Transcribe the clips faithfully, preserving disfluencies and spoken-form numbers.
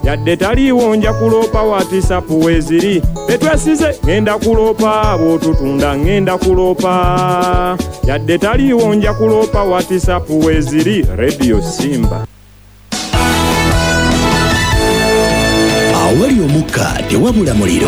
Yadde taliiwo nja kuloopa WhatsApp weeziri. Betwesize ŋŋenda kuloopa, bw'otutunda ŋŋenda kuloopa. Yadde taliiwo nja kuloopa WhatsApp weeziri. Radio Simba. Awali omukka tewabula muliro.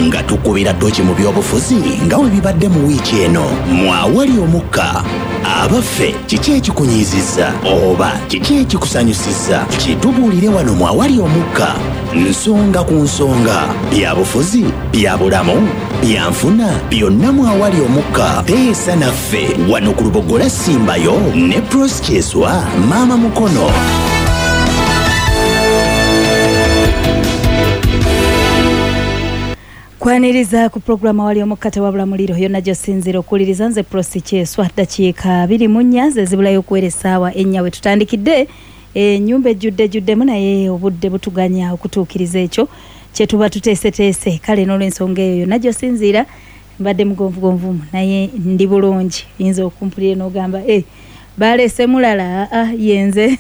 Nga tukubira ttooki mu byobufuzi nga bwe bibadde mu wiiki eno. Mu awali omukka, abaffe kiki ekikunyiizizza oba kiki ekikusanyusizza? Kitubuulire wano mu awali omukka. Nsonga ku nsonga, byabufuzi, bya bulamu, bya nfuna, byonna mu awali omukka. Teesa naffe wano ku Lubogola Simbayo ne Pross Kyeswa Maama Mukono. Kwaniriza ku programu awali omukka tewabula muliro yonna gy'osinziira okuwuliriza. Nze Pross Kyeswa. Ddakiika abiri mu nnya ze zibulayo okuwera essaawa ennya we tutandikidde. Ennyumba ejjudde ejjuddemu, naye obudde butuganya okutuukiriza ekyo kye tuba tuteeseteese. Kale n'olw'ensonga eyo yonna gy'osinziira mbadde mugonvugonvumu, naye ndi bulungi. Yinza okumpulira n'ogamba eh, baleese mulala, aa yenze.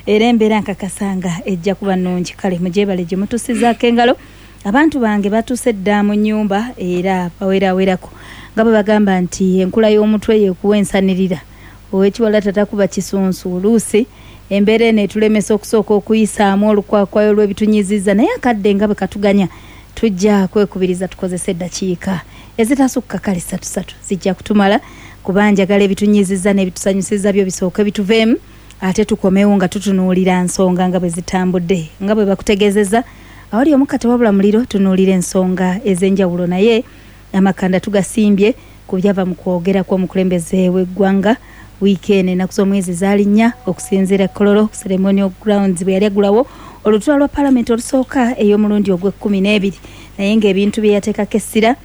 Era embeera nkakasanga ejja kuba nnungi. Kale mugyebale gye mutusizaako engalo. Abantu bange batuuse dda mu nnyumba era bawerawerako, nga bwe bagamba nti enkula y'omutwe yekuwa ensanirira, ow'ekiwala tatakuba kisunsu. Oluusi embeera eno etulemesa okusooka okuyisaamu olukwakwayo lw'ebitunyiizizza, naye akadde nga bwe katuganya tujja kwekubiriza tukozese eddakiika ezitasukka kale ssatu ssatu zijja kutumala, kuba njagala ebitunyiizizza n'ebitusanyusizza byo bisooke bituveemu, ate tukomewo nga tutunuulira nsonga nga bwe zitambudde. Nga bwe bakutegeezezza, awali omukka tewabula muliro, tunuulira ensonga ez'enjawulo, naye amakanda tugasimbye ku byava mu kwogera kw'omukulembeze w'eggwanga wiiki eno. Ennaku z'omwezi zaali nnya okusinziira Kololo Ceremonial Grounds bwe yali aggulawo olutuula lwa paalamenti olusooka ey'omulundi ogw'ekkumi n'ebiri, naye ng'ebintu bye yateekako essira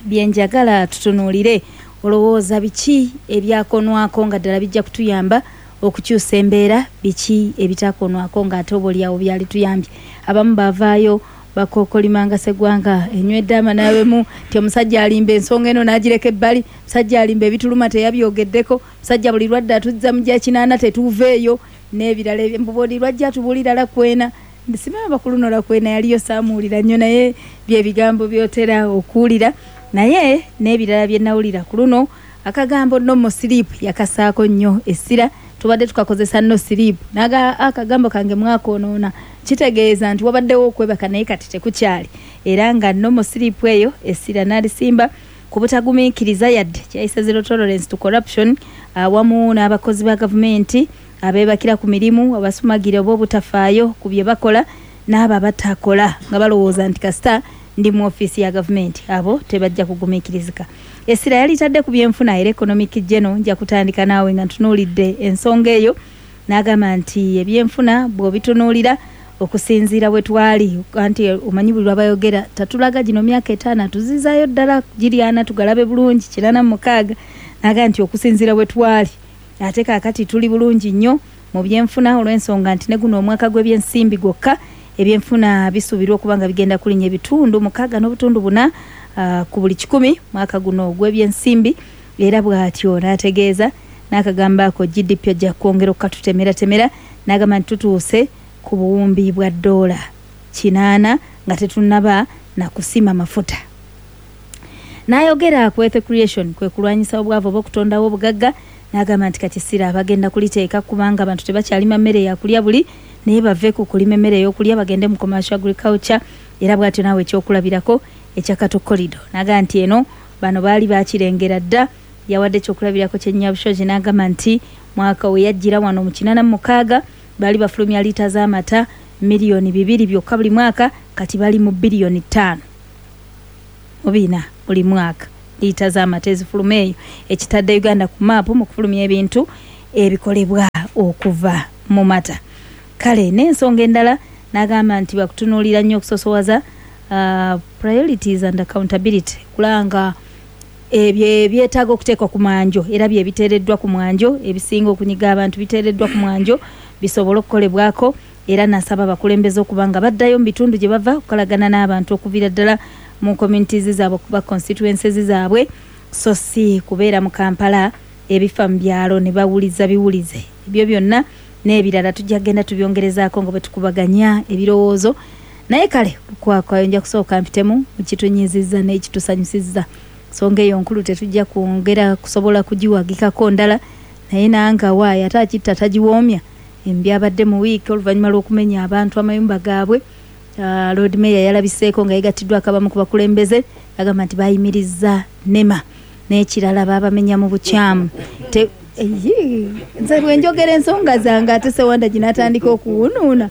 bye njagala tutunuulire. Olowooza biki ebyakonwako nga ddala bijja kutuyamba okukyusa embeera? Biki ebitakonwako ng'ate oba oliawo byali tuyambye? Abamu bavaayo bakookolimanga Sseggwanga enywedde amanaabemu nti omusajja alimba ensonga eno n'agireka ebbali, omusajja alimba ebituluma teyabyogeddeko, omusajja buli lwadde atuzza mu gya kinaana tetuuveeyo, n'ebirala. Buli lwajja atubuulira lakwena, simanyi bakulu lakwena yaliyo saamuwulira nnyo, naye bye bigambo by'otera okuwulira. Naye n'ebirala bye nawulira ku luno, akagambo no more sleep yakasaako nnyo essira. Tubadde tukakozesa no sleep, naga akagambo kange mwakoonoona, kitegeeza nti wabaddewo okwebaka naye kati tekukyali. Era nga no more sleep eyo essira n'alisimba ku butagumiikiriza yadde kyayise zero tolerance to corruption, awamu n'abakozi ba gavumenti abeebakira ku mirimu, abasumagira oba obutafaayo ku bye bakola, n'abo abatakola nga balowooza nti kasita ndi mu ofiisi ya gavumenti, abo tebajja kugumiikirizika. Essira yalitadde ku byenfuna era economic geno. Nja kutandika naawe nga ntunuulidde ensonga eyo. N'agamba nti ebyenfuna bw'obitunuulira okusinziira bwe twali, anti omanyi buli lwabayogera tatulaga gino myaka etaano, atuzizaayo ddala giri ana tugalabe bulungi, kinaana mu mukaaga. N'agamba nti okusinziira bwe twali ate kaakati tuli bulungi nnyo mu byenfuna, olw'ensonga nti ne guno omwaka gw'ebyensimbi gwokka ebyenfuna bisuubirwa okuba nga bigenda kulinnya ebitundu mukaaga n'obutundu buna uh, ku buli kikumi mwaka guno ogw'ebyensimbi. Era bw'atyo n'ategeeza n'akagamba ako G D P ojja kwongera okukatutemeratemera, n'agamba nti tutuuse ku buwumbi bwa ddoola kinaana nga tetunnaba nakusima mafuta. N'ayogera ku wealth creation, kwe kulwanyisa obwavu oba okutondawo obugagga, n'agamba nti kati essira bagenda kuliteeka kubanga abantu tebakyalima mmere yakulya buli, naye bave ku kulima emmere ey'okulya bagende mu commercial agriculture. Era bw'atyo naawe ekyokulabirako ekya Cattle Corridor, n'agamba nti eno bano baali bakirengera dda. Yawadde ekyokulabirako kyennyabushozi, n'agamba nti mwaka we yajjira wano mu kinaana mu mukaaga baali bafulumya liita z'amata miliyoni bibiri byokka buli mwaka, kati bali mu biliyoni ttaano mu bina buli mwaka liita z'amata ezifuluma eyo, ekitadde Uganda ku maapu mu kufulumya ebintu ebikolebwa okuva mu mata. Kale n'ensonga endala n'agamba nti bakutunuulira nnyo okusosowaza uh, priorities and accountability, kulaba nga ebyo ebyetaaga okuteekwa ku mwanjo era bye biteereddwa ku mwanjo, ebisinga okunyiga abantu biteereddwa ku mwanjo bisobole okukolebwako. Era nasaba abakulembeze okuba nga baddayo mu bitundu gye bava okukolagana n'abantu okuviira ddala mu communities zaabwe okuba constituencies zaabwe, so si kubeera mu Kampala, ebifa mu byalo ne bawuliza biwulize. Ebyo byonna N'ebirala tujja kugenda tubyongerezaako nga bwe tukubaganya ebirowoozo. Naye kale kwakwayo nja kusooka mpitemu mu kitunyiizizza n'ekitusanyusizza. Nsonga eyo nkulu tetujja kwongera kusobola kugiwagikako ndala, naye nanga waayo ate akitta tagiwoomya. Embyabadde mu wiiki oluvannyuma lw'okumenya abantu amayumba gaabwe. Uh, Lord Mayor yalabiseeko nga yegattiddwako abamu ku bakulembeze, agamba nti bayimirizza NEMA n'ekirala baabamenya mu bukyamu. Te- eyi, nze bwe njogera ensonga zange ate Sewanda ginatandika okuwunuuna.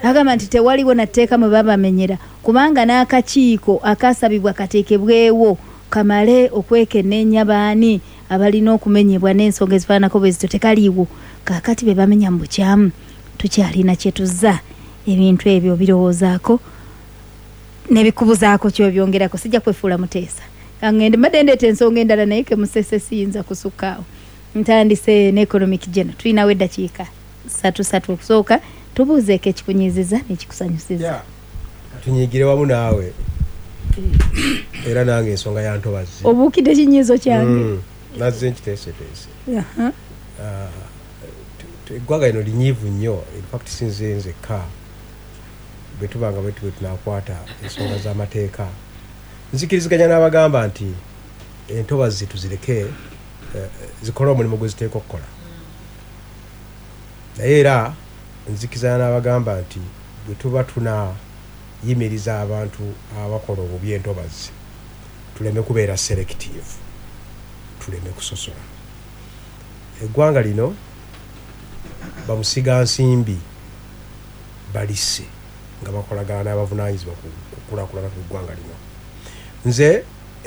Agamba nti tewaliwo na tteeka mwe babamenyera, kubanga n'akakiiko akasabibwa kateekebwewo kamale okwekenneenya baani abalina okumenyebwa n'ensonga ezifaananako bwe zityo tekaliiwo. Kaakati be bamenya mu bukyamu tukyalina kye tuzza. Ebintu ebyo birowoozaako n'ebikubuzaako kyobyongerako. Sijja kwefuula muteesa, kangende mbadde ndeeta ensonga endala naye ke musese siyinza kusukkaawo. Ntandise ne economic general, tulinawo eddakiika ssatu ssatu okusooka tubuuzeeko ekikunyiizizza n'ekikusanyusizza. Yeah. Tunyigire wamu naawe era nange ensonga ya ntobazi. Obuukidde ekinyiizo kyange. Mm, nazze nkiteeseteese. Aha. Ah, tu- tu- eggwanga lino linyiivu nnyo. In fact sinze nzekka bwe tuba nga bwe tube tunakwata ensonga z'amateeka, nzikiriziganya n'abagamba nti entobazi tuzireke eh, zikole omulimu gwe ziteekwa okukola, naye era nzikiriziganya n'abagamba nti bwe tuba tunayimiriza abantu abakola obubi entobazi tuleme kubeera selective, tuleme kusosola. Eggwanga lino bamusigansimbi balisse nga bakolagana n'abavunaanyizibwa ku kukulaakulana kw'eggwanga lino. Nze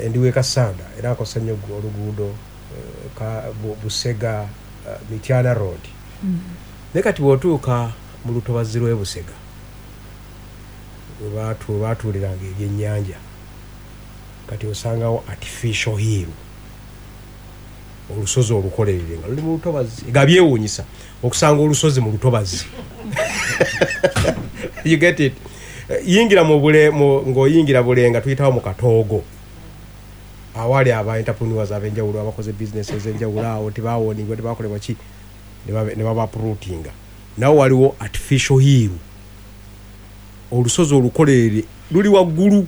ndi w'e Kassanda era nkozesa nnyo oluguudo eh, ka Bu- Busega eh, Mityana Road. Naye kati bw'otuuka mu lutobazi lw'e Busega we baatu- we baatuuliranga ebyennyanja, kati osangawo artificial hill, olusozi olukolerere nga luli mu lutobazi. Nga byewuunyisa okusanga olusozi mu lutobazi. You get it? Eh, yingira mu bule mu- ng'oyingira Bulenga tuyitawo mu Katoogo awali aba entrepreneurs ab'enjawulo abakoze business ez'enjawulo awo tebawoningwa tebakolebwa ki ne babe- ne babaprutinga. Nawo waliwo artificial hill, olusozi olukolerere luli waggulu.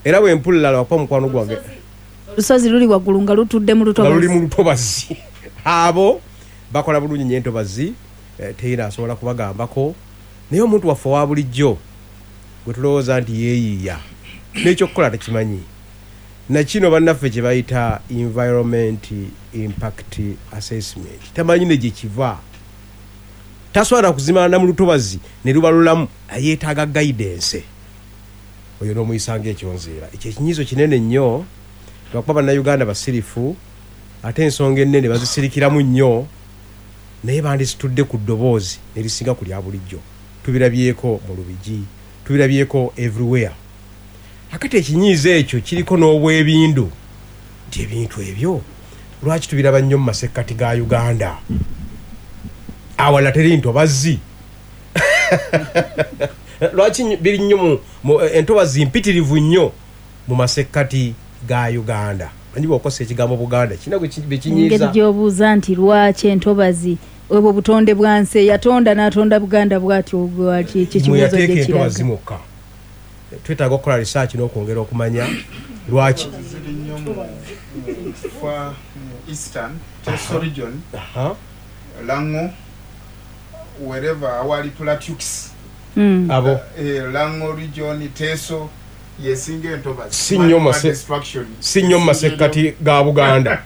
Era bwe mpulira lwakuba mukwano gwange Olusozi luli waggulu nga lutudde mu nga luli lutobazi. mu lutobazi. Abo bakola bulungi nnyo entobazi, eh, teyina asobola kubagambako. Naye omuntu waffe owa bulijjo gwe tulowooza nti yeeyiiya n'ekyokukola tekimanyi, nakino bannaffe kye bayita environment impact assessment tamanyi ne gye kiva, tasobola kuzimana mu lutobazi ne luba lulamu, ayeetaaga guidance. Oyo n'omuyisa ng'ekyonziira. Ekyo ekinyiizo kinene nnyo lwakuba bannayuganda basirifu ate ensonga ennene bazisirikiramu nnyo, naye bandisitudde ku ddoboozi ne lisinga ku lya bulijjo. Tubirabyeko mu Lubigi, tubirabyeko everywhere. Akati ekinyiizo ekyo kiriko n'obwebindu nti ebintu ebyo lwaki tubiraba nnyo mu masekkati ga Uganda, awalala teri ntobazi? Lwaki nnyo- biri nnyo mu- mu entobazi mpitirivu nnyo mu masekkati ga Uganda? Manyi bw'okosa ekigambo Buganda kirina gwe ki- Engeri bekinyiiza. gy'obuuza nti lwaki entobazi, obwo butonde bwa nsi, eyatonda n'atonda Buganda bw'atyo bw'ati, ekyo ekibuuzo Mwe yateeka gye entobazi kiraga. mwokka. Twetaaga okukola research n'okwongera okumanya lwaki. Ziri nnyo mu mu far mu eastern Teso region, Aha. Lango, wherever awali plateaux. Mm. Abo eh, Lango region, Teso yesinga entobazi. Si nnyo Man- mase- destruction. Si nnyo mu masekkati ga Buganda.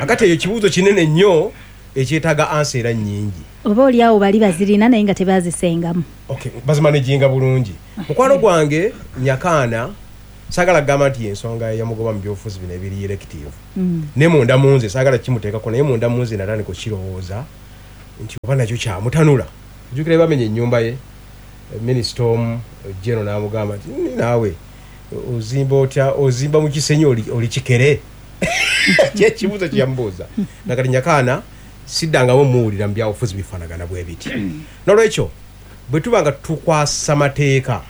Akati eyo kibuuzo kinene nnyo ekyetaaga ansa era nnyingi. Oba oli awo bali bazirina naye nga tebazisengamu. Okay, bazimanaginga bulungi. Mukwano gwange Nyakaana saagala kugamba nti yensonga eyamugoba mu byobufuzi bino ebiri elective, Mm. ne munda mu nze saagala kimuteekako, naye munda mu nze natandika okukirowooza nti oba nakyo kyamutanula. Ojjukira bamenya ennyumba ye, minisita omu geno n'amugamba nti "Nni naawe ozimba otya, ozimba mu kisenyi oli, oli kikere?" Kyekibuuzo kyeyamubuuza. Nakati Nyakaana siddangamu muwulira mu byabufuzi bifaanagana bwe biti. Nolwekyo bwe tuba nga tukwasa mateeka,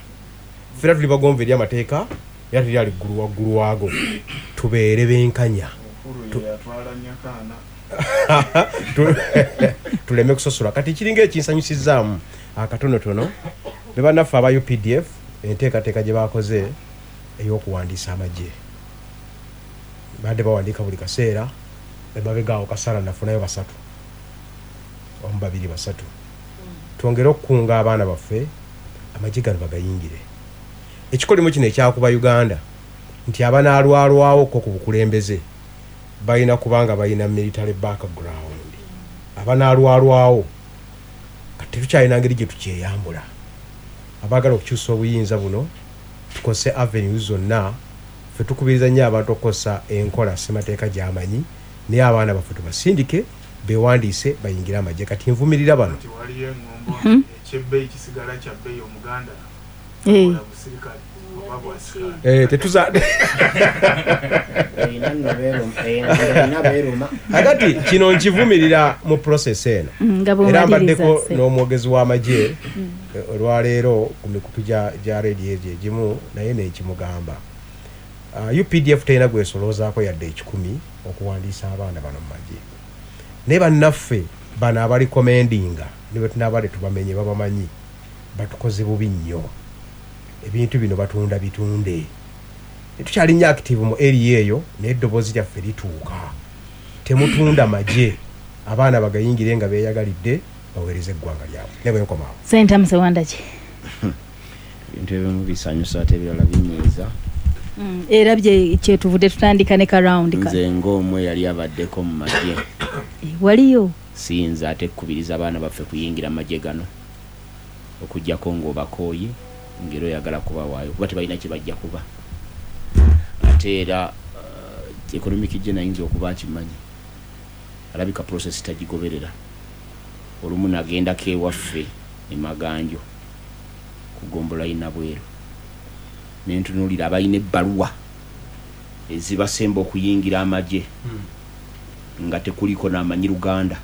ffena tuli bagonvu eri amateeka era tuli ali ggulu waggulu waago, tubeere benkanya. Uhuru ye yatwala Nyakaana. Tuleme kusosola. Kati kiringa ekinsanyusizaamu akatonotono be bannaffe aba U P D F enteekateeka gye bakoze ey'okuwandiisa amagye. Badde bawandiika buli kaseera, emabega kasala nafunayo basatu, omu babiri basatu. Twongere okukunga abaana baffe amagye gano bagayingire. Ekikolimo kino ekyakuba Uganda nti abanaalwalwawo ko ku bukulembeze balina kubanga balina military background. Abanaalwalwawo kati tetukyalina ngeri gye tukyeyambula. Abaagala okukyusa obuyinza buno tukose avenues zonna. Ffe tukubiriza nnyo abantu okukozesa enkola ssemateeka gy'amanyi, naye abaana baffe tubasindike beewandiise bayingire amagye. Kati nvumirira bano. Nti waliyo eŋŋombo ekyebbeeyi kisigala kya bbeeyi Omuganda Eh. ola busirikale oba bwasikaali. Eh, tetuza Erina nno beeruma, erina beeruma. Akati kino nkivumirira mu process eno. Mm, nga Era bw'omaliriza mbaddeko se. n'omwogezi w'amagye olwaleero ku mikutu gya, gya rediyo egyo egimu, naye nenkimugamba. Uh, U P D F terina gwesoloozaako yadde ekikumi okuwandiisa abaana bano mu magye. Naye bannaffe bano abalikomendinga ne bwe tunaaba tetubamenye babamanyi, batukoze bubi nnyo. Ebintu bino batunda bitunde. Tetukyali nnyo active mu area eyo, naye eddoboozi lyaffe lituuka. Temutunda magye, abaana bagayingire nga beeyagalidde baweereze eggwanga lyabwe. Ne bwe nkomaawo. Ssentamu Ssewandagi. Ebintu ebimu bisanyusa ate ebirala binyiiza. Mm, era bye kyetuvudde tutandika ne ka round ka. Nze ng'omwe yali abaddeko mu magye. Eh, waliyo? Siyinza ate kukubiriza abaana baffe kuyingira magye gano okuggyako ng'obakooye ng'era oyagala kubawaayo kuba tebalina kye bajja kuba. Ate era, uh, economic gye nayinza okuba akimanyi, alabika process tagigoberera. Olumu nagendako ewaffe e Maganjo ku ggombolola y'Nabweru, ne ntunuulira abalina ebbaluwa ezibasemba okuyingira amagye nga tekuliko n'amanyi Luganda,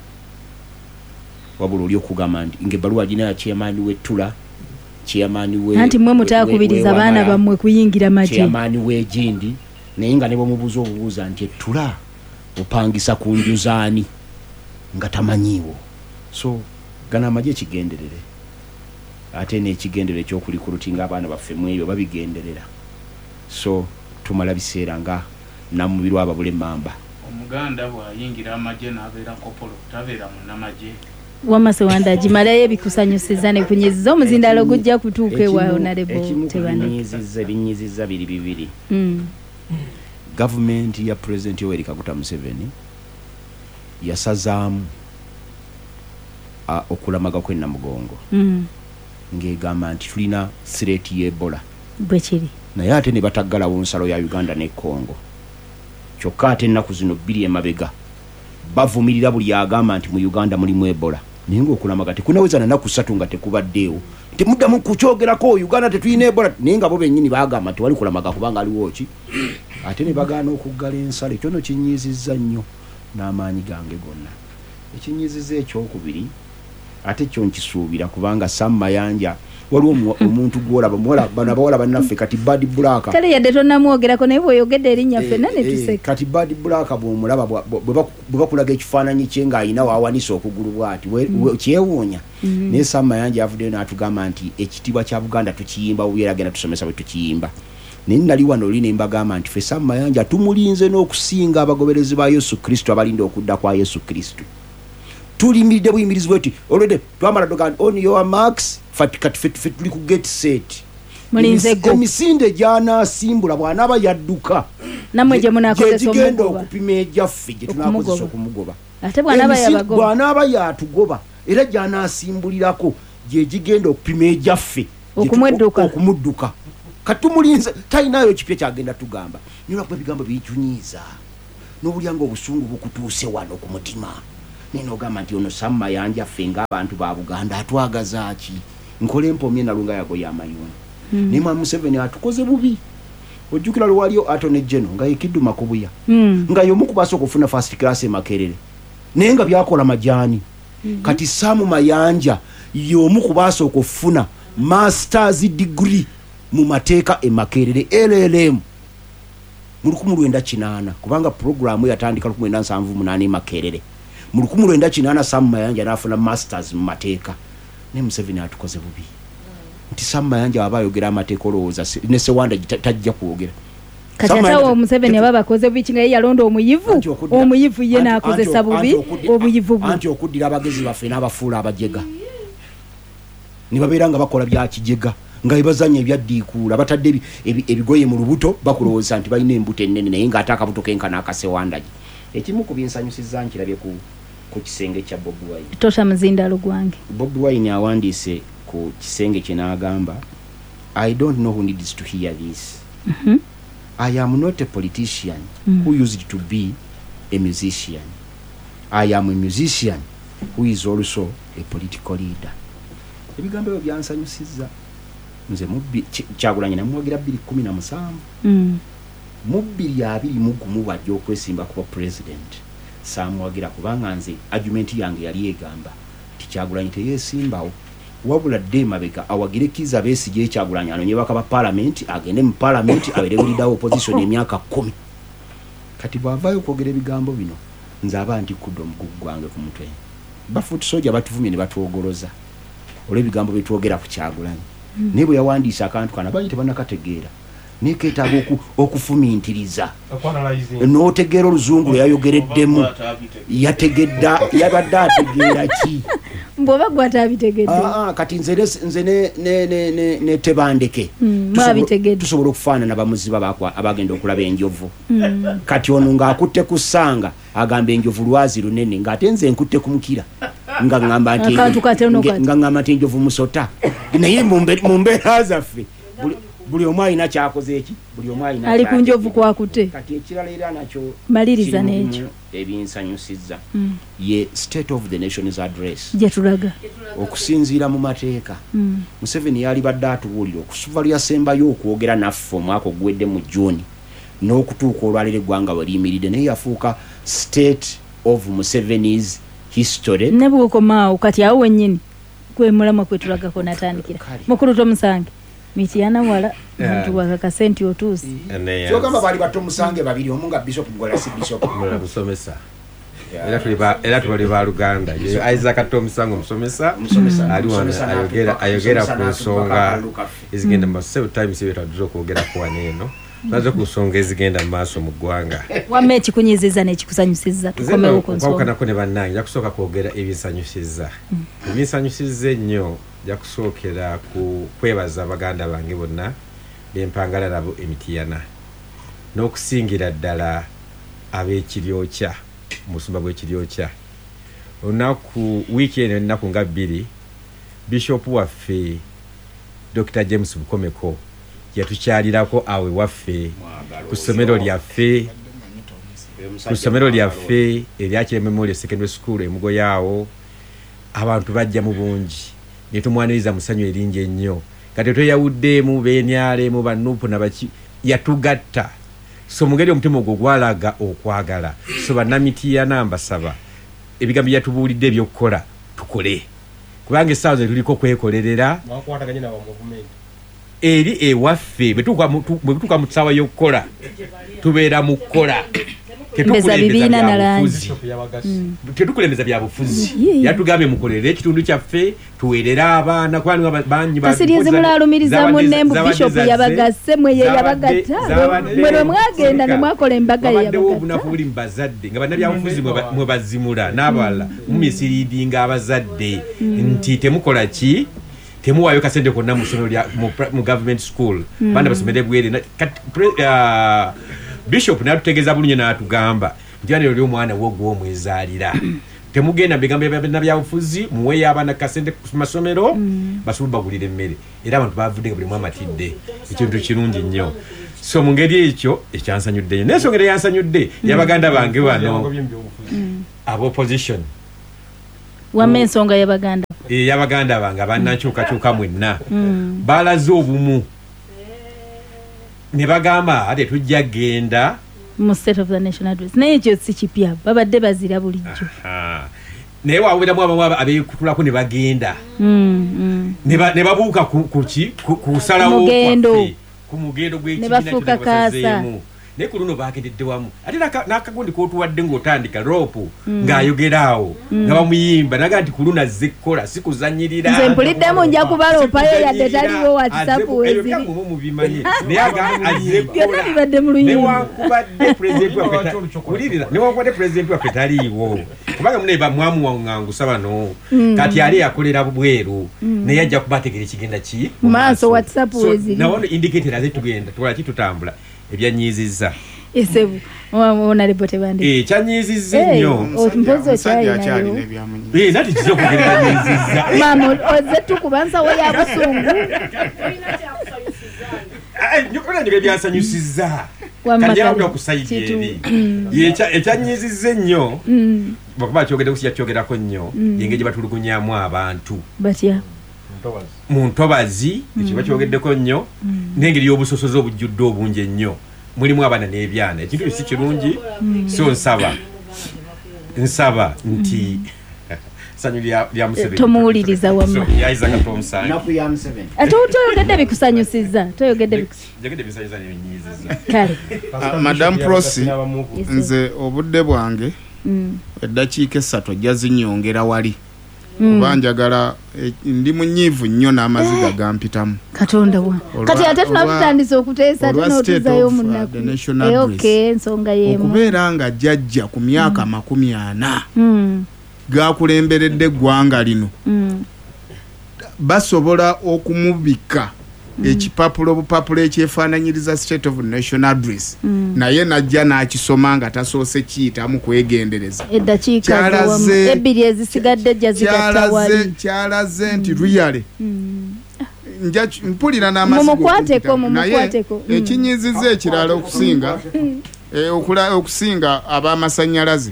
wabula oli okugamba nti ng'ebbaluwa agina ya chairman w'ettula, chairman we- Anti mmwe mutaakubiriza we- we- baana we- bammwe kuyingira magye. Chairman w'egindi, naye nga ne bw'omubuuza obubuuza nti ettula opangisa ku nju z'ani nga tamanyiiwo. So gano amagye kigenderere, ate n'ekigenderere eky'okulikulutinga abaana baffe mu ebyo babigenderera. So tumala biseera nga namubirwa ababula emmamba. Omuganda bw'ayingira amagye n'abeera kopolo, tabeera munnamagye. Wamma Ssewandagi, malayo ebikusanyusiza ne kunyiziza omuzindaalo gujja kutuuka ewa Ekimu- Honorable ekimu ku Tebandeke. binyiziza, ebinyiziza biri bibiri. Mm. Gavumenti ya President Yoweri Kaguta Museveni yasazaamu, a, okulamaga kw'e Namugongo. Mm. Ng'egamba nti tulina threat y'Ebola. Bwe kiri. Naye ate ne bataggalawo nsalo ya Uganda ne Congo. Kyokka ate ennaku zino bbiri emabega bavumirira buli agamba nti mu Uganda mulimu Ebola. Naye ng'okulamaga tekunaweza na nnaku ssatu nga tekubaddeewo. Temuddamu kukyogerako, Uganda tetulina Ebola. Naye nga bo bennyini baagamba tewali kulamaga kubanga aliwo ki? Ate ne bagaana okuggala ensalo. Ekyo nno kinyiizizza nnyo n'amaanyi gange gonna. Ekinyiizizza ekyokubiri, ate kyo nkisuubira kubanga Sam Mayanja waliwo omu-, omuntu gw'olaba, muwala, bano abawala bannaffe kati Bad Black. Kale yadde tonnamwogerako naye bw'oyogedde erinnya Eh, ffenna ne eh, tuseka. Kati Bad Black bw'omulaba, bwa-, bwa-, bwe baku-, bwe bakulaga ekifaananyi kye ng'alina w'awanise okugulu bw'ati, we-, Mm. we-, kyewuunya. Mm. Naye Sam Mayanja avuddeyo n'atugamba nti ekitiibwa kya Buganda tukiyimba bubi era agenda tusomesa bwe tukiyimba. Naye nali wano oli ne mbagamba nti ffe Sam Mayanja tumulinze n'okusinga abagoberezi ba Yesu Kristo abalinda okudda kwa Yesu Kristo. Tulimiridde buyimirizi bwe tuti, already twamala ddoga nti on your marks, fati kati ffe, ffe tuli ku get set. Mulinze Emisi-, go. Emisinde gy'anaasimbula bw'anaaba yadduka, Nammwe gye munaakozesa gye gigenda omugoba. okupima egyaffe gye tunaakozesa Okumugoba. okumugoba. Ate bw'anaaba Emisinde yabagoba. bw'anaaba yatugoba, era gy'anaasimbulirako gye gigenda okupima egyaffe gye tu- Okumwedduka. okumudduka. Kati tumulinze, talinayo kipya ky'agenda tugamba. Naye lwakuba ebigambo bitunyiiza, n'obulya ng'obusungu bukutuuse wano ku mutima. Naye n'ogamba nti ono Sam Mayanja ffe ng'abantu ba Buganda atwagaza ki? Nkole empomye nalunga yagoye amayuuni. Mm. Naye Mwami Museveni atukoze bubi. Ojjukira lwe waliyo Attorney General nga ye Kiddu Makubuya. Mm. Nga y'omu ku basooka okufuna first class e Makerere. Naye nga byakola majaani. Mm-hmm. Kati Sam Mayanja y'omu ku basooka okufuna masters degree mu mateeka e Makerere L L M mu lukumi lwenda kinaana, kubanga puroguramu yatandika lukumi lwenda nsanvu munaana e Makerere. Mu lukumi lwenda kinaana Sam Mayanja n'afuna masters mu mateeka. Naye Museveni atukoze bubi nti Sam Mayanja aba ayogera amateeka, olowooza ne Sewanda tajja kwogera. Kati atawo Museveni aba bakoze bubi kinga ye yalonda omuyivu, omuyivu ye n'akozesa bubi obuyivu bwe. Anti okuddira abagezi baffe n'abafuula abajega ne babeera nga bakola bya kijega, nga bebazanya ebyaddiikuula, batadde ebigoye mu lubuto, bakulowooza nti balina embuto ennene, naye ng'ate akabuto kenkana akasewandagi. Ekimu ku binsanyusizza nkirabye ku ku kisenge kya Bobi Wine. Tosha muzindalo gwange. Bobi Wine awandiise ku kisenge kye n'agamba, I don't know who needs to hear this. Mm -hmm. I am not a politician mm. who used to be a musician. I am a musician who is also a political leader. Ebigambo ebyo byansanyusizza. Nze mubbi Kyagulanyi namuwagira bbiri kkumi na musanvu. Mm. Mu bbiri abiri mu gumu bw'ajja okwesimba kuba president, saamuwagira kubanga nze argument yange yali egamba nti Kyagulanyi teyeesimbawo, wabula dde emabega awagire Kizza Besigye. Kyagulanyi anonye baka ba parliament, agende mu parliament abeere leader opposition emyaka kkumi. Kati bw'avaayo okwogera ebigambo bino, nze aba ntikudde omugugu gwange ku mutwe. Bafoot soldier batuvumye ne batwogoloza olw'ebigambo bye twogera ku Kyagulanyi. Mm. Naye bwe yawandiisa akantu kano abangi tebannakategeera, naye keetaaga okufumintiriza n'otegeera oluzungu lwe yayogereddemu. Yategedda, yabadde ategeera ki? Bw'oba gwe atabitegedde. Ah, kati nze nze ne ne ne ne Tebandeke tusobola okufaanana bamuziba abagenda okulaba enjovu. Mm. Kati ono ng'akutte ku ssanga agamba enjovu lwazi lunene, ng'ate nze nkutte ku mukira nga ŋŋamba nti nga ŋŋamba nti enjovu musota. Naye mu mbeera zaffe buli omu alina kyakoze eki, buli omu alina ali ku njovu kwakute. Kati ekirala era nakyo maliriza n'ekyo ebinsanyusizza mm. ye State of the Nation's Address gye tulaga okusinziira mu mateeka. mm. Museveni yali badde atubuulira okusuva lyasembayo okwogera naffe omwaka oguwedde mu June n'okutuuka olwaleero eggwanga we liyimiridde, naye yafuuka State of Museveni's History. Ne bw'okomaawo kati awo wennyini kwe mulamwa kwe tulagako natandikira. Mukulu Tomusange Mityana wala muntu wakakase nti otuuse. Kyogamba baali Batomusange babiri, omu nga Bishop Mugwala si Bishop musomesa. Era tuli ba era tuli ba Luganda. Isaac Tomusange omusomesa ali wano ayogera ayogera ku nsonga ezigenda mu maaso. Times ebyo twadde okwogera ku wano eno. Nazo ku nsonga ezigenda mu maaso mu ggwanga. Wamma ekikunyiizizza n'ekikusanyusizza tukomewo ku nsonga. Okwawukanako ne bannange nja kusooka kwogera ebinsanyusizza. Ebinsanyusizza ennyo nja kusookera ku kwebaza baganda bange bonna bempangala nabo e Mityana, n'okusingira ddala ab'Ekiryokya, omusumba gw'Ekiryokya. Olunaku wiiki eno ennaku nga bbiri, Bishop waffe Doctor James Bukomeko yatukyalirako awo ewaffe ku ssomero lyaffe ku ssomero lyaffe erya Kirembe Memorial Secondary School emugoyaawo. Abantu bajja mu bungi ne tumwaniriza mu ssanyu eringi ennyo. Kati tweyawuddeemu beenyalemu banupu nabaki, yatugatta. So mungeri omutima ogwo gwalaga okwagala. So bannamitiana mbasaba ebigambo byatubuulidde ebyokukola tukole, kubanga essaawa ze tuliko kwekolerera eri ewaffe. Bwe tutuuka mu ssaawa y'okukola tubeera mu kukola, tetukulembeza byabufuzi. Yatugambye mukolere ekitundu kyaffe, tuweerere abaana. Kasirize mulaalumiriza munne mbu Bishop yabagasse, mwe ye yabagatta, mwe lwe mwagenda ne mwakola embaga ye yabagatta. Obunafu buli mu bazadde nga bannabyabufuzi mwe bazimula n'abalala mumisiriidinga abazadde nti temukola ki, temuwaayo kasente konna mu ssomero lya mu government school, baana basomere bwereere. Bishop n'atutegeeza bulungi n'atugamba nti bano oli omwana wo gw'omwezaalira, temugenda mu bigambo bya byabufuzi, muweeyo abaana kasente ku masomero basobole bagulira emmere. Era abantu bavudde nga buli omu amatidde, ekintu kirungi nnyo. So mu ngeri ekyo ekyansanyudde nnyo. Naye ensonga era yansanyudde yabaganda bange bano ab'opposition. Wamma ensonga y'abaganda ey'abaganda bange abannankyukakyuka mwenna balaze obumu ne bagamba ate tujja genda mu State of the Nation Address. Naye ekyo si kipya, babadde bazira bulijjo. Naye waaweramu abamu abeekutulako ne bagenda ne babuuka ku ki, kusalawo kwaffe, ku mugendo gw'ekibiina. Ne bafuuka kaasa. Naye ku luno bagendedde wamu. Ate n'akagundi k'otuwadde ng'otandika rope ng'ayogera awo nga bamuyimba naga nti ku luno azze kukola si kuzannyirira. Nze mpuliddemu nja kubaloopayo yadde taliwo WhatsApp weziri. Ebyo mubimanyi naye agamba azze kukola. Byonna bibadde mu luyimba. Newankubadde pulezidenti waffe wulirira newankubadde pulezidenti waffe taliiwo kubanga mune bamwamuwaŋŋangusa bano kati ali akolera bweru naye ajja kubategeera ekigenda ki mu maaso WhatsApp weziri. Nawono indicator aze tugenda tukola ki tutambula ebyanyiizizza. Esebu honorable Tebandeke. Eh kyanyiizizza nnyo. Mpozi okyalina. Eh nati kizo kugenda nyiizizza. Mama ozze tukubanza we ya busungu. Eh nyukona ndio byasanyusizza. Kati yabula kusaidia eri. Ye ekyanyiizizza ennyo. Bakuba kyogedde kusija kyogerako nnyo yengeje batulugunyamu abantu. Batya. Mu ntobazi ekiba kyogeddeko nnyo n'engeri y'obusosoze obujjudde obungi ennyo mulimu abaana n'ebyana ekintu si kirungi so nsaba nsaba nti sanyu lya Museveni tomuwuliriza wamma yayiza katomusange naku ya Museveni ate toyogedde bikusanyusizza toyogedde bikusanyusizza bisanyusa n'ebinyiizizza kale Madam Prossy nze obudde bwange eddakiika essatu ajja zinyongera wali kuba njagala ndi munyiivu nnyo n'amaziga gampitamu. Katonda wa kati ate tunatutandise okuteesa ate n'otuzayo munaku. Okay, ensonga y'emu okubeera nga jjajja ku myaka makumi ana gakulemberedde eggwanga lino basobola okumubika ekipapula obupapula ekyefaananyiriza State of National Address naye najja n'akisoma nga tasoose kiyitamu kwegendereza. Eddakiika ebbiri ezisigadde jja zigatta wali. Kyalaze nti really nja mpulira n'amasigo mumukwateko mumukwateko ekinyiziza ekirala okusinga okusinga ab'amasannyalaze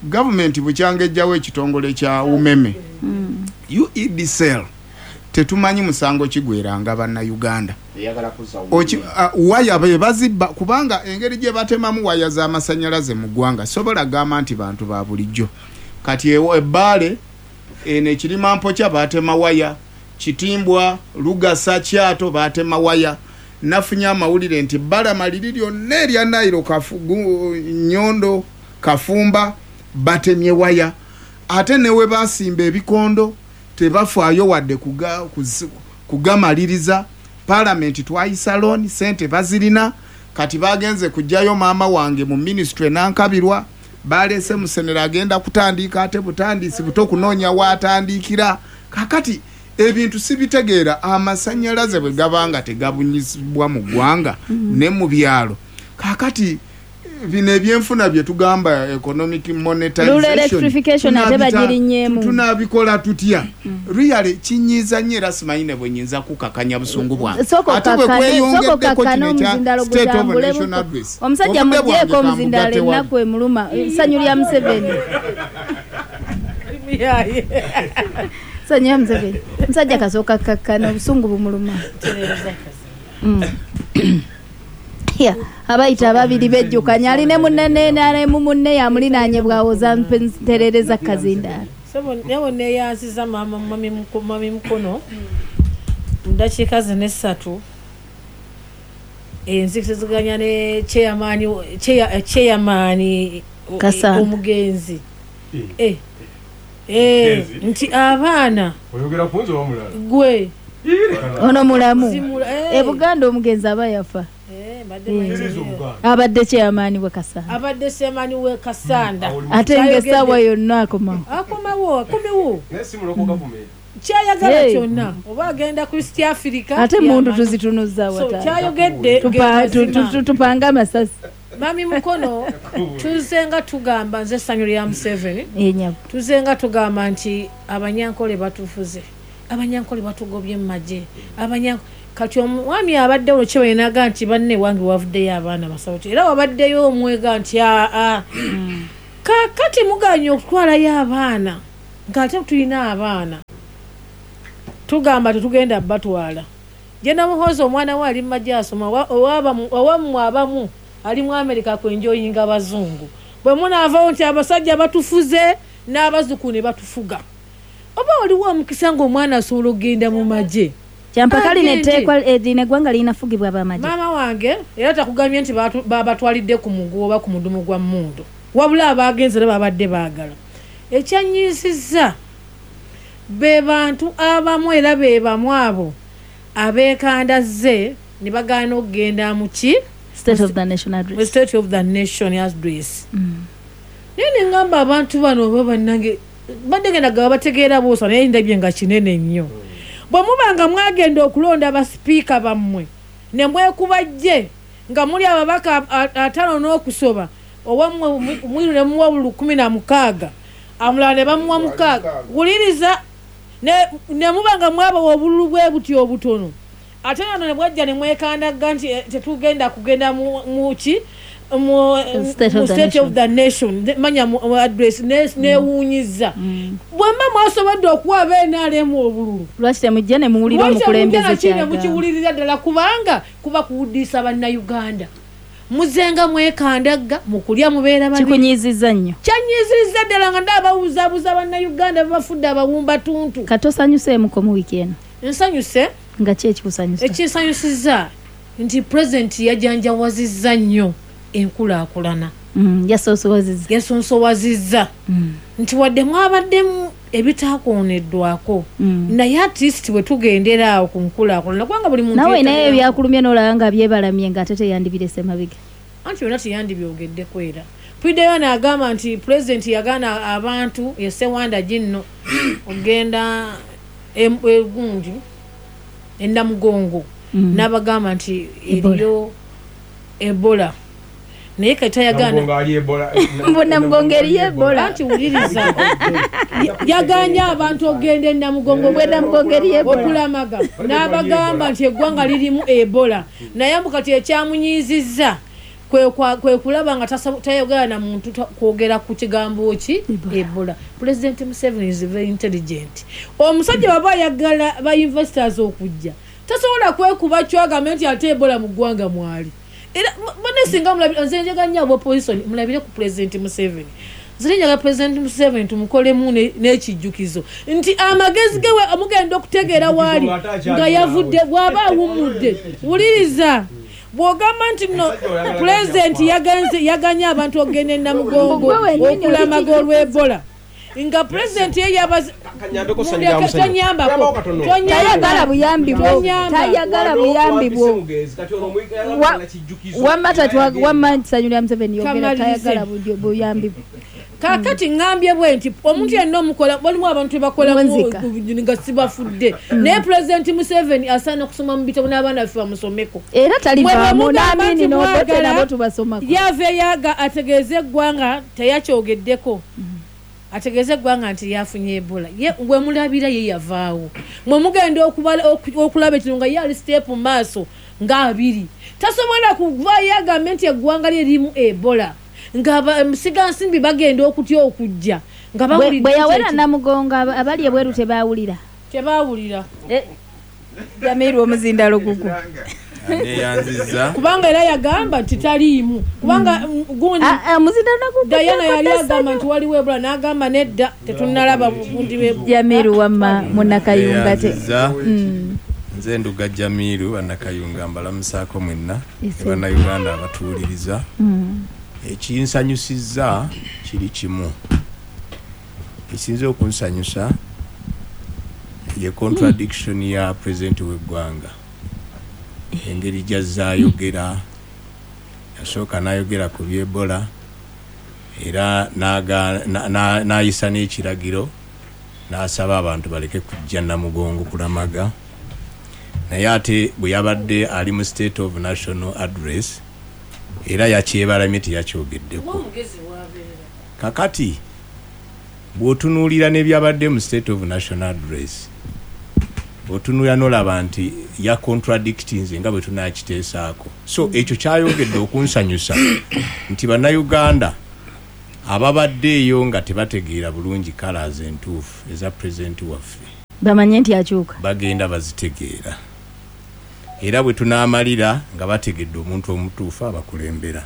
gavumenti bukyanga ejjawo ekitongole kya umeme U E D C L tetumanyi musango kigweranga bannayuganda. Waya be bazibba kubanga engeri gye batemamu waya z'amasannyalaze mu ggwanga sobola gamba nti bantu ba bulijjo. Kati ebbaale eno ekirima mpokya batema waya, Kitimbwa, Lugasa, Kyato batema waya. Nafunye amawulire nti Bbalama liri lyonna erya Nairo Nyondo Kafumba batemye waya. Ate ne we basimba ebikondo tebafaayo wadde kugamaliriza. Palamenti twayisa loan sente bazirina kati bagenze kujjayo maama wange mu ministry nankabirwa balese musenera agenda kutandika ate butandisi buto kunoonya waatandikira. Kakati ebintu sibitegeera amasannyalaze bwe gabanga tegabunyizibwa mu ggwanga ne mu byalo. Kakati bino ebyenfuna bye tugamba economic monetization ate bagirinyeemu tunabikola tutya? Really kinyiiza nnyo era simanyi ne bwe nnyinza kukakanya busungu bwange. Ate bwe kweyongeddeko kino ekya State of National Address omusajja muggyeko omuzindaalo ennaku emuluma essanyu lya Museveni essanyu lya Museveni omusajja kasooka kakkana obusungu bumuluma. Abayita ababiri bejjukanya ali ne munne n'alemu munne yamulinaanye bw'awoza nterereza kazindaalo. Sebo neeyanziza maama mami Mukono mu ddakiika zino essatu enzikiriziganya ne chairman chairman omugenzi eh eh nti abaana oyogera ku nze wamulala gwe ono mulamu e Buganda omugenzi aba yafa. Abadde chairman we Kasanda abadde chairman we Kasanda ate ng'essaawa yonna akomawo akomawo akomewo naye si muloko gavumenti kyayagala kyonna oba agenda ku East Africa ate mundu tuzitunuza wata kyayogedde tupanga amasasi. Mami Mukono tuzenga tugamba nze essanyu lya Museveni tuzenga tugamba nti abanyankole batufuze abanyankole batugobye mu magye abanyankole kati omwami abaddewo kyewenaga nti banne wange wavuddeyo abaana basawuti era wabaddeyo omwega nti aa kakati muganye okutwalayo abaana ng'ate tulina abaana tugamba tetugenda batwala. Jena Muhoozi omwana we ali mu magye asoma owammwe abamu ali mu Amerika kwenjoyinga bazungu bwe munaavawo nti abasajja batufuze n'abazzukulu ne batufuga oba oliwo omukisa ng'omwana asobola okugenda mu magye Kyampaka lino etteekwa lino eggwanga lirinafugibwa ab'amagye. Maama wange era takugambye nti babatwalidde ku muguwa oba ku mudumu gwa mmundu, wabula abagenze era babadde baagala. Ekyanyiisizza be bantu abamu era be bamu abo abeekandazze ne bagaana okugenda mu ki? State of the Nation Address. State of the Nation Address. Naye ne ŋŋamba abantu bano oba bannange badde ngenda gaba bategeera boosa, naye ndabye nga kinene nnyo. Bwe muba nga mwagenda okulonda basipiika bammwe ne mwekubajje nga muli ababaka ataano n'okusoba, owammwe mwiru ne muwa buli lukumi na mukaaga, amulala ne bamuwa mukaaga, wuliriza ne muba nga mwabawa obululu bwe buti obutono, ate nano ne bwajja ne mwekandagga nti tetugenda kugenda mu ki? Mu State of the Nation, manya mu address newuunyiza. Bwemba mwasobodde okuwa aba N R M obululu, lwaki temujja ne muwulira omukulembeze kyagamba? Mukiwulirira ddala, kubanga kuba kuwuddisa Bannayuganda. Muzenga mwekandagga mu kulya mubeera babiri. Kikunyiizizza nnyo. Kyanyiizizza ddala nga ndabawuzaabuza Bannayuganda babafudde abawumbatuntu. Kati osanyuseemuko mu wiiki eno? Nsanyuse. Nga ki ekikusanyusa? Ekinsanyusizza nti pulezidenti yajanjawazizza nnyo enkulaakulana. Yasoosowazizza. Yasoosowazizza. Nti wadde mwabaddemu ebitaakooneddwako, naye at least bwe tugendera awo ku nkulaakulana, kubanga buli muntu nawe naye ebyakulumye n'olaba nga byebalamye ng'ate teyandibirese mabega. Anti byonna teyandibyogeddeko era. Piddeyo n'agamba nti pulezidenti yagaana abantu e Ssewanda ginno ogenda egundi Ennamugongo, n'abagamba nti eriyo Ebola. Naye kati tayagaana. Mbu Namugongo eriyo Ebola. Anti wuliriza. Yagaanye abantu okugenda e Namugongo Bwe Namugongo eriyo Ebola. Okulamaga. N'abagamba nti eggwanga lirimu Ebola. Naye mbu kati ekyamunyiizizza kwe kulaba nga tayogera na muntu kwogera ku kigambo ki? Ebola. President Museveni is very intelligent. Omusajja bw'aba ayagala ba investors okujja, tasobola kwekuba kyagambe nti ate Ebola mu ggwanga mwali. Era bane singa mulabire nze njagala nnyo opposition mulabire ku President Museveni. Nze njagala President Museveni tumukolemu n'ekijjukizo nti amagezi ge amugenda okutegeera waali nga yavudde bw'aba awummudde. Wuliriza bw'ogamba nti no President yaganze yaganye abantu okugenda e Namugongo okulamaga olw'Ebola, nga President ye yabaze tonyambako tayagala buyambi bwo, tayagala buyambi bwo. Wamma tatwa wamma Ssanyu lya Museveni yogera tayagala buyambi bwo. Kaakati ŋŋambye bwe nti omuntu yenna omukola walimu abantu bebakola nga sibafudde, naye President Museveni asaana okusoma mu bitabo n'abaana baffe bamusomeko. Era talivaamu n'Amini n'Obote nabo tubasomako. Yava yaga ategeeze eggwanga teyakyogeddeko. Ategeeze eggwanga nti yafunye Ebola. Ye bwe mulabira ye yavaawo. Mwe mugenda okulaba ekino nga ye ali step mu maaso nga abiri. Tasobola kuvaayo agambe nti eggwanga lye lirimu Ebola. Nga musigansimbi bagenda okutya okujja. Nga bawulidde. Bwe yawera Namugongo abali ebweru tebaawulira. Tebaawulira. Jamiru omuzindalo gugwo. Neyanziza. Kubanga era yagamba nti taliimu. Kubanga gundi Diana yali agamba nti waliwo Ebola n'agamba nedda tetunnalaba bundi bw'Ebola. Jamiru wamma Munnakayunga te. Nze Nduga Jamiru Bannakayunga mbalamusaako mwenna Bannayuganda abatuwuliriza. Ekinsanyusizza kiri kimu. Ekisinze okunsanyusa ye contradiction ya President w'eggwanga. Engeri gy'azzayogera, yasooka n'ayogera ku by'Ebola era n'ayisa n'ekiragiro n'asaba abantu baleke kujja Namugongo kulamaga. Naye ate bwe yabadde ali mu State of National Address era yakyebalamye teyakyogeddeko. Kakati bw'otunuulira n'ebyabadde mu State of National Address, otunuulira n'olaba nti ya contradictinze nga bwe tunaakiteesaako. So ekyo kyayogedde okunsanyusa nti Bannayuganda ababadde eyo nga tebategeera bulungi colours entuufu eza President waffe bamanye nti akyuka, bagenda bazitegeera. Era bwe tunaamalira nga bategedde omuntu omutuufu abakulembera.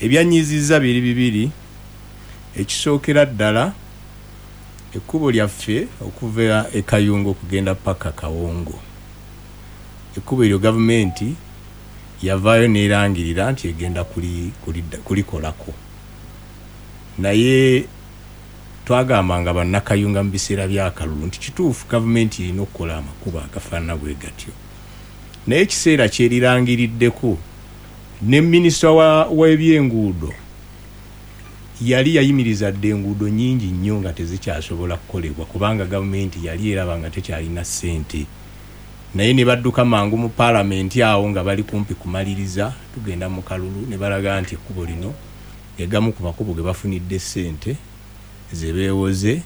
Ebyanyiizizza biri bibiri. Ekisookera ddala ekkubo lyaffe okuva e Kayunga okugenda paka Kawongo. Ekkubo eryo gavumenti yavaayo n'erangirira nti egenda kulikolako. Naye twagambanga bannakayunga mu biseera by'akalulu nti kituufu gavumenti erina okukola amakubo agafaanana bwe gatyo, naye ekiseera kyerirangiriddeko ne minisita w'ebyenguudo yali yayimiriza dda enguudo nnyingi nnyo nga tezikyasobola kukolebwa kubanga gavumenti yali eraba nga tekyalina ssente. Naye ne badduka mangu mu paalamenti awo nga bali kumpi kumaliriza tugenda mu kalulu ne balaga nti ekkubo lino egamu ku makubo ge bafunidde ssente ze beewoze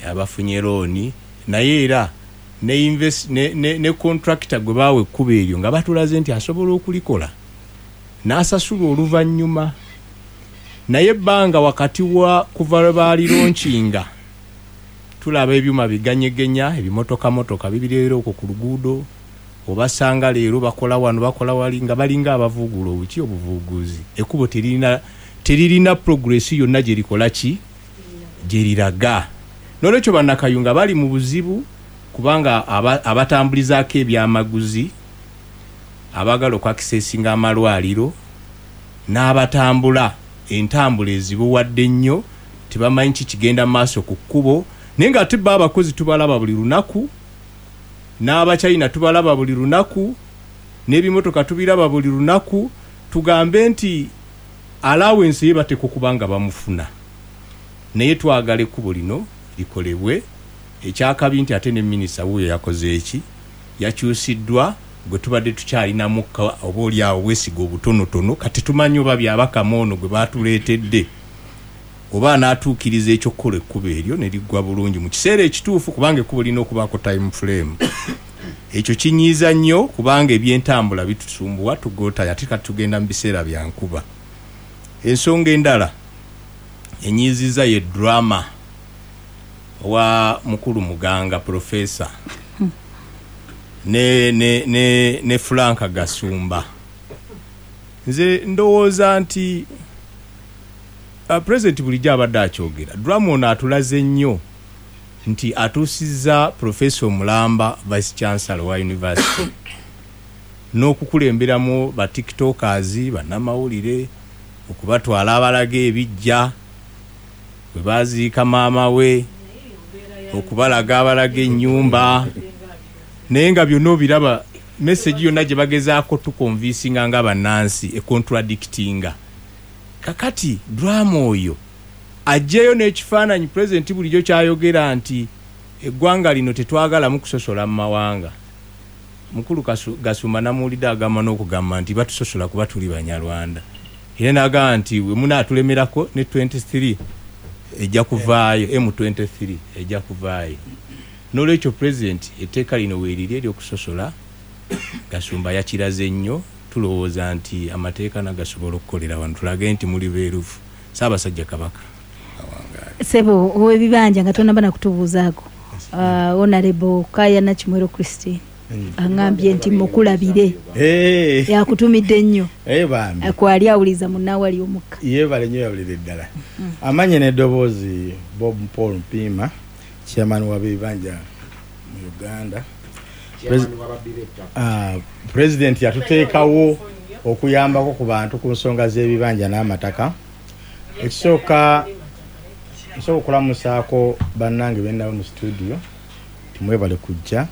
abafunye looni, naye era ne, invest, ne, ne, ne contractor gwe baawa ekkubo eryo nga batulaze nti asobola okulikola n'asasula oluvannyuma. Naye ebbanga wakati wa kuva lwe baalironkinga tulaba ebyuma biganyegenya, ebimotokamotoka bibireera okwo ku luguudo, obasanga leero bakola wano bakola wali nga balinga abavuugula obuki obuvuuguzi. Ekkubo teririna teririna progress yonna gye likola ki gye liraga. N'olwekyo bannakayunga bali mu buzibu kubanga abatambulizaako ebyamaguzi, abaagala okwakisesinga amalwaliro n'abatambula entambula ezibuwadde ennyo tebamanyi ki kigenda mu maaso ku kkubo. Naye ng'ate bo abakozi tubalaba buli lunaku, n'abachina tubalaba buli lunaku, n'ebimotoka tubiraba buli lunaku. Tugambe nti allowance ye bateekwa okuba nga bamufuna, naye twagala ekkubo lino likolebwe. Ekyakabi nti ate ne minisita wuuyo yakoze eki, yakyusiddwa gwe tubadde tukyalinamu oba oli awo bwesiga obutonotono, kati tumanyi oba byabakama ono gwe batuleetedde oba anaatuukiriza ekyokukola ekkubo eryo ne liggwa bulungi mu kiseera ekituufu, kubanga ekkubo lirina okubaako time frame. Ekyo kinyiiza nnyo kubanga ebyentambula bitusumbuwa tugootanya, ate kati tugenda mu biseera bya nkuba. Ensonga endala enyiiziza ye drama wa mukulu Muganga professor ne, ne, ne, ne Frank Gasumba. Nze ndowooza nti uh, president bulijjo abadde akyogera, drama ono atulaze nnyo nti atuusizza professor Mulamba vice chancellor wa university n'okukulemberamu ba tiktokers, bannamawulire, okubatwala abalaga ebijja bwe baziika maama we, okubalaga abalaga ennyumba, naye nga byonna obiraba message yonna gye bagezaako tukonvinsinga nga bannansi econtradictinga. Kakati drama oyo aggyeyo n'ekifaananyi pulezidenti bulijjo kyayogera nti eggwanga lino tetwagalamu kusosola mu mawanga. Mukulu Gasumba namuwulidde agamba n'okugamba nti batusosola kuba tuli Banyarwanda, era n'agamba nti we munaatulemerako ne twenty-three ejja kuvaayo, M twenty-three ejja kuvaayo. N'olwekyo pulezidenti etteeka lino weeriri ery'okusosola Gasumba yakiraze nnyo. Tulowooza nti amateeka nagasobola okukolera wano, tulage nti muli beerufu. Ssaabasajja Kabaka Sebo ow'ebibanja nga tonaba na kutubuuzaako, uh, Honorable Kaya Nakimwero Christine aŋŋambye nti mukulabire, yakutumidde nnyo kwali awuliza munnawali omukka. Yeebale nnyo, yawulire ddala. Amanye n'eddoboozi Bob Paul Mpiima, chairman w'ebibanja mu Uganda. Uh, President yatuteekawo okuyambako ku bantu ku nsonga z'ebibanja n'amataka. Ekisooka nsobola okulamusaako bannange bennabo mu studio, timwebale kujja,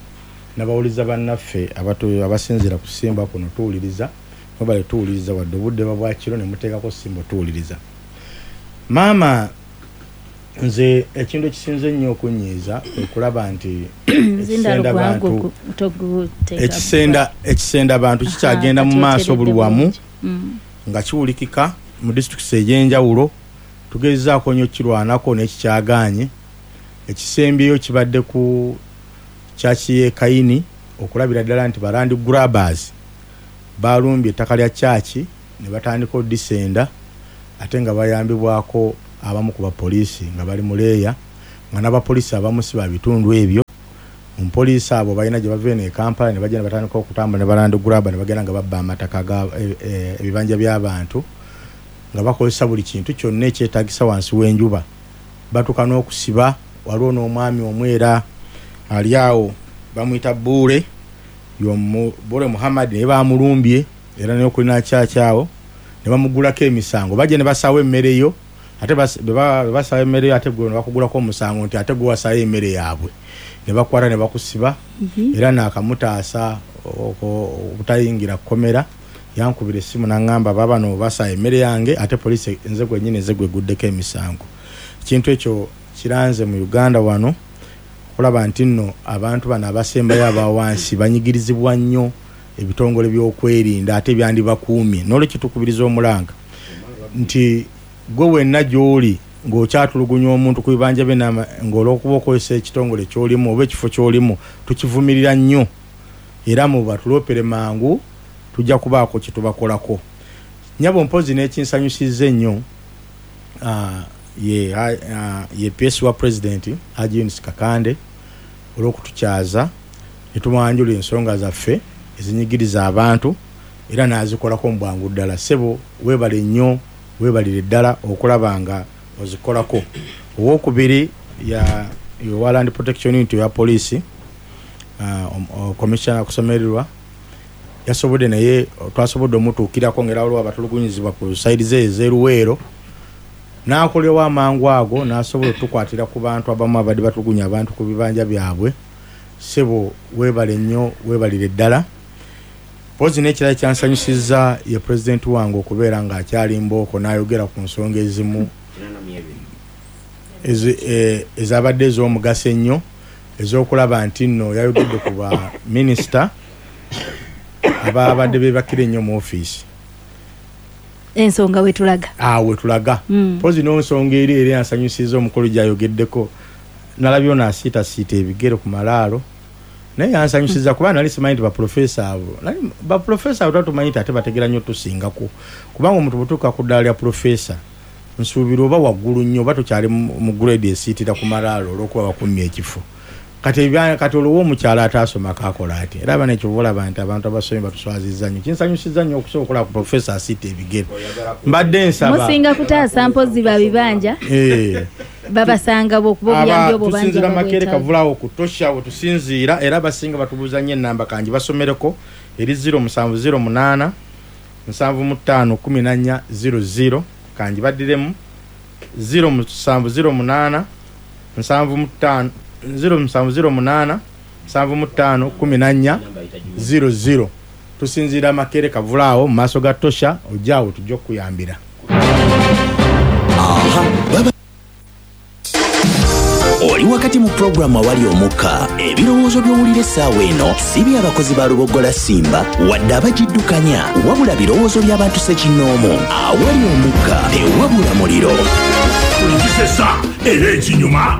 n'abawuliza bannaffe abasinziira ku Simba kuno tuwuliriza, mwebale tuwuliriza wadde obudde bwa kiro ne muteekako Simba tuwuliriza. Maama, nze ekintu ekisinze ennyo okunyiiza okulaba nti ekisenda bantu ekisenda ekisenda bantu kikyagenda mu maaso buli wamu nga kiwulikika mu disitulikiti ez'enjawulo. Tugezaako nnyo kirwanako n'ekikyagaanye. Ekisembyeyo kibadde ku kyaki y'e Kayini, okulabira ddala nti ba land grabbers balumbye ettaka lya kyaki ne batandika odisenda, ate nga bayambibwako abamu ku bapoliisi nga bali mu leeya, nga n'abapoliisi abamu si ba bitundu ebyo. Omupoliisi abo balina gye bava eno e Kampala ne bajja ne batandika okutambula ne ba land grabber ne bagenda nga babba amataka ga ebibanja by'abantu nga bakozesa buli kintu kyonna ekyetaagisa wansi w'enjuba. Batuuka n'okusiba. Waliwo n'omwami omwera ali awo bamuyita Buule, Bore Muhammad ne bamulumbye era naye okulina kyakyawo ne bamugulako emisango, bajja ne basaawo emmere yo, ate basaawo emmere yo, ate gwe ne bakugulako omusango nti ate gwe wasaayo emmere yaabwe, ne bakwata ne bakusiba. Era naakamutaasa obutayingira kkomera. Yankubira essimu n'aŋŋamba baabano basaayo emmere yange, ate poliisi nze gwennyini nze gweguddeko emisango. Ekintu ekyo kiranze mu Uganda wano okulaba nti nno abantu bano abasembayo abawansi banyigirizibwa nnyo ebitongole by'okwerinda ate byandibakuumye. N'olwekyo tukubiriza omulanga nti gwe wenna gy'oli ng'okyatulugunya omuntu ku bibanja bye ng'olwokuba okozesa ekitongole ky'olimu oba ekifo ky'olimu, tukivumirira nnyo era mu batuloopere mangu, tujja kubaako kye tubakolako. Nnyabo mpozi n'ekinsanyusizza ennyo ye ye P S wa President Haji Yunus Kakande olw'okutukyaza ne tumwanjula ensonga zaffe ezinyigiriza abantu era n'azikolako mu bwangu ddala. Ssebo weebale nnyo, weebalire ddala okulaba nga ozikolako. Owokubiri ya Land Protection Unit ya poliisi, Commissioner Kusomererwa yasobodde naye twasobodde omutuukirako ng'era waliwo abatulugunyizibwa ku sayidi ze ez'eruweero, n'akolewo amangu ago n'asobola otukwatira ku bantu abamu abadde batulugunya abantu ku bibanja byabwe. Ssebo weebale nnyo, weebalire ddala. Mpozi n'ekirala kyansanyusizza ye pulezidenti wange okubeera ng'akyali mbooko n'ayogera ku nsonga ezimu ezabadde ez'omugaso ennyo ez'okulaba nti nno yayogedde ku ba minisita ababadde beebakira ennyo mu ofiisi. Ensonga wetulaga ah wetulaga. Mpozi n'ensonga eri eri yansanyusizza omukulu gy'ayogeddeko, nalabye ono asiitasiita ebigere ku malaalo, naye yansanyusiza kuba nali simanyi nti baprofesa abo baprofesa abo twatumanyi nti ate bategera nnyo tusingako, kubanga omuntu bw'otuuka ku ddaala lya profesa nsuubira oba waggulu nnyo oba tokyali mu grade esiitira ku malaalo olw'okuba bakummye ekifo. Kati kati olwo omukyala ataasomako akola ati? Era abaana ekyo olaba nti abantu abasomye batuswazizza nnyo. Kinsanyusizza nnyo okusobola okulaba ku profesa asiita ebigere. Mbadde nsaba musinga kutaasa mpozi babibanja babasanga bwokuba obuyambi obwo bangi tusinziira Makerere Kavulaawo ku Tosha we tusinziira, era abasinga batubuuza nnyo ennamba kangi basomereko eri zero musanvu zero munaana nsanvu mu ttaano kumi na nnya zero zero, kangi baddiremu zero musanvu zero munaana nsanvu mu ttaano zero musanvu zero munaana nsanvu mu ttaano kumi na nnya zero zero. Tusinziira Makerere Kavulaawo mu maaso ga Tosha, ojjaawo tujja okukuyambira. Oli wakati mu pulogulaamu Awali Omukka. Ebirowoozo by'owulira essaawa eno si by'abakozi ba Lubogola Simba wadde abagiddukanya, wabula birowoozo by'abantu ssekinnoomu. Awali Omukka tewabula muliro. Kisesa era ekinyuma.